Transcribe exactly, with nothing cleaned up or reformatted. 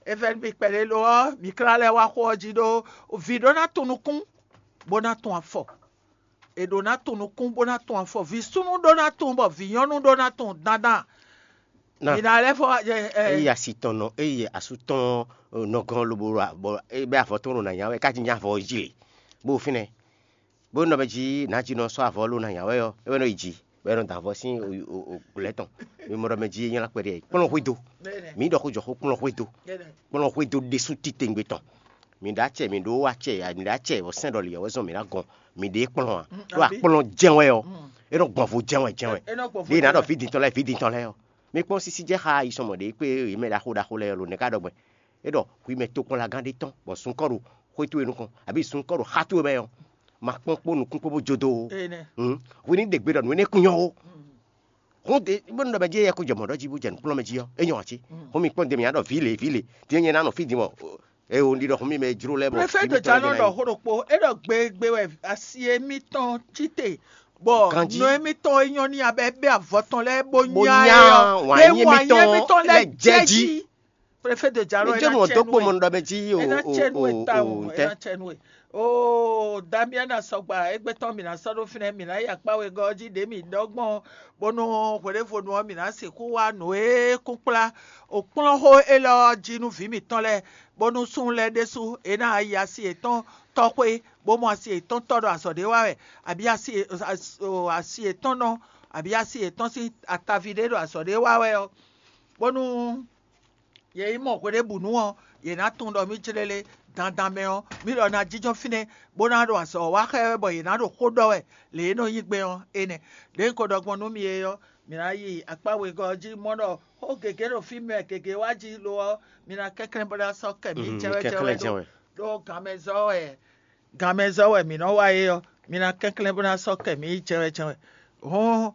Evɛ́ nú mi kpɛɖé lo ɔ́, mi klá lɛ́ wá xó ɔ́ jí ɖó vǐ ɖó ná tun nukún, bó ná tun afɔ. È ɖǒ ná tun nukún bó ná tun afɔ. Vǐ súnnu ɖó ná tun bɔ vǐ nyɔ́nu ɖó ná tun dandan. Mi ná lɛ́ fɔ. Eye asi tɔn nɔ eye asú tɔn nɔ gɔn lobo bɔ é bɛ avɔ tɔn ɖo nǎ nya wɛ kájí nya avɔ jí lě bó fínɛ́ bó nɔ mɛ jí nǎjínɔ sɔ́ avɔ ló nǎ nya wɛ ɔ́ é wɛ nɔ yi jí bɔ é nɔ da avɔ sín glɛ̌ tɔn. Mi mɔ ɖɔ mɛ jí é nylá kpɛɖé kplɔ́n xwédo. Mi ɖɔ xó jɔ xó kplɔ́n xwédo. Kplɔ́n xwédo ɖésú titewungbe tɔn. Mi ɖó acɛ mi ɖó acɛ mi ɖó acɛ vɔ sɛn ɖɔ lǐyɔ́ wɛ zɔn mi ná gɔn mi ɖe kplɔn a ɖó akplɔn jɛn wɛ ɔ e nɔ gbɔn vo jɛn wɛ jɛn wɛ ɖe ná ɖɔ fí dintɔ lɛ fí dintɔ lɛ ɔ mi kpɔn sisi jɛ xa yi sɔmɔ ɖe kpé yi mɛ ɖaxó ɖaxó lɛ ɔ lo nɛ ká ɖɔ gbɛ e ɖɔ hui mɛ tokpɔnlagán ɖé tɔn bɔ sunkɔ ɖo xwé towe nukɔn abi sunkɔ ɖo xa towe mɛ ɔ ma kpɔn kpó nukún kpó bó jodo o hui ní ɖe gbe ɖɔ nǔ énɛ́ kún nyɔ o hún de bó nɔ bɛ jɛ yɛ kó jɛ mɔ̌ ɖɔ jí bó jɛ nǔkplɔ́n mɛ jí ɔ́ é nyɔ́ ǎ cé hún mi kpɔ́n de mǐ ná ɖɔ vǐ lě vǐ lě dín nyɛ ná nɔ fí din mɔ eo un ɖi ɖɔ hún mi mɛ jló lɛ́ mɔ Préfet de Djanɔ ɖɔ xó ɖokpó, é ɖɔ gbegbe wɛ asi émítɔn cí te, bɔ Ganjí. Nɔ émítɔn é nyɔ́ ní abɛ bɛ avɔ tɔn lɛ́ɛ bó Bó nyá nyá é ɔ́, wǎn é nyí wǎn nyí émítɔn émítɔn lɛ́ɛ lɛ́ɛ jɛ jɛ jí. Jí. Préfet de Djanɔ Mi é jɛ́ ná nú ɔ́ cɛ dó nú kpó mɔ ɛ. Nɔ ɖɔ mɛ jí o É ná o cɛ nú ɛ o tawun, o é ntɛ. Ná cɛ nú ɛ. Oo, Damiana sɔgba, égbé tɔn mǐ ná sɔ́ ɖó fínɛ́, mǐ ná yi akpá wegɔ́ ɔ́ jí ɖě mǐ ɖɔ gbɔn, bónú hweɖěvonu ɔ́ mǐ ná sixú wá nǔ e kún kplá o kplɔ́nxó élɔ́ ɔ́ jí nú vǐ mǐtɔn lɛ́ɛ, bónú súnnu lɛ́ɛ ɖésú é ná yi asi yětɔn tɔ́xwé, bó mɔ asi yětɔn tɔ́ ɖo azɔ̌ ɖé wa wɛ, abǐ asi asi yětɔn nɔ, abǐ asi yětɔn sín ataví ɖé ɖo azɔ̌ ɖé wa wɛ ɔ́, bónú yě yi mɔ hweɖěbǔnu ɔ́, yě ná tunwun ɖɔ mì jlélé dandan mɛ ɔ́, mì lɔ ná jínjɔ́n fínɛ́, bó ná ɖo azɔ̌ wa xá ɛ wɛ bɔ yě ná ɖo xó ɖɔ wɛ lě e nɔ nyí gbɛn ɔ́ énɛ́. Ɖěe un ko ɖɔ gbɔn nú mi é ɔ́, mǐ ná yi akpá wegɔ́ ɔ́ jí mɔ ɖɔ xó gěgé ɖo fí mɛ gěgé wá jí lo ɔ́, mi ná kɛnklɛ́n bó ná sɔ́ kɛ mǐ Mhm, jɛ́wɛ́jɛ́wɛ́ kɛnklɛ́n ɖó jɛ́n wɛ. Ɖó ganmɛzɔ́ wɛ ganmɛzɔ́ wɛ mǐ nɔ wa é ɔ́, mi ná kɛnklɛ́n bó ná sɔ́ kɛ mǐ yi jɛ́wɛ́jɛ́wɛ́. Hɔn